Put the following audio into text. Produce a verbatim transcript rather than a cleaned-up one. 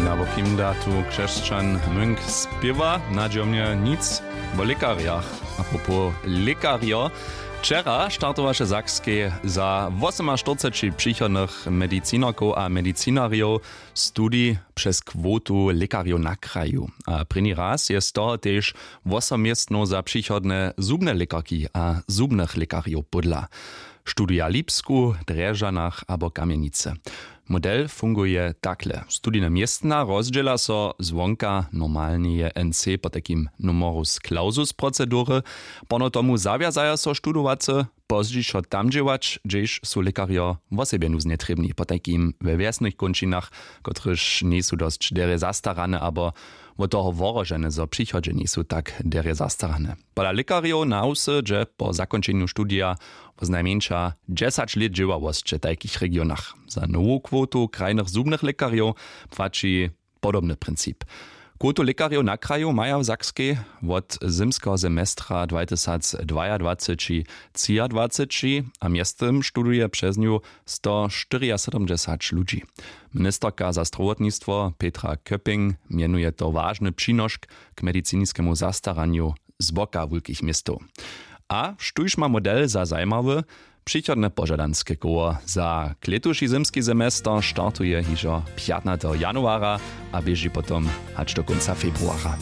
Na wokim datu křesćan munk spěwa nadźomnje nic wo lěkarjach. Apropos lěkarjo, wčera startowaše w sakskej za wosomaštyrceći přichodnych medicinarkow a medicinarjow studij přez kwotu lěkarjow na kraju. A prěni raz je z toho tež wosom městnow za přichodne zubne lěkarki a zubnych lěkarjow pódla. Studija w lipsku, drježdźanach abo kamjenicy. Model funguje takle. Studijne městna rozdźěla so zwonka normalneje nc potajkim numerus clausus procedury. Porno tomu zawjazaja so studowacy pozdźišo tam dźěłać, hdźež su lěkarjo wosebje nuznje trěbni, potajkim we wjesnych kónčinach, kotrež njejsu dosć derje zastarane abo wot toho wohrožene, zo w přichodźe njejsu tak derje zastarane. Pola lěkarjow na wsy dźe po zakónčenju studija woznajmjeńša dźesać lět dźěławosće w tajkich regionach. Za nowu kwotu krajnych zubnych lěkarjow płaći podobny princip. Kwotu lěkarjow na kraju maja w sakskej wot zymskeho semestra dwatysacdwajadwaceći třiadwaceći a mjeztym studuje přez nju stoštyriasydomdźesać ludźi. Ministerka za strowotnistwo Petra Köpping mjenuje to wažny přinošk k mediciniskemu zastaranju z boka wulkich městow. A štóž ma model za zajimawy? Přichodne požadanske koło za klětuši zymski semester startuje hižo pjatnateho januara a běži potom hač do kónca februara.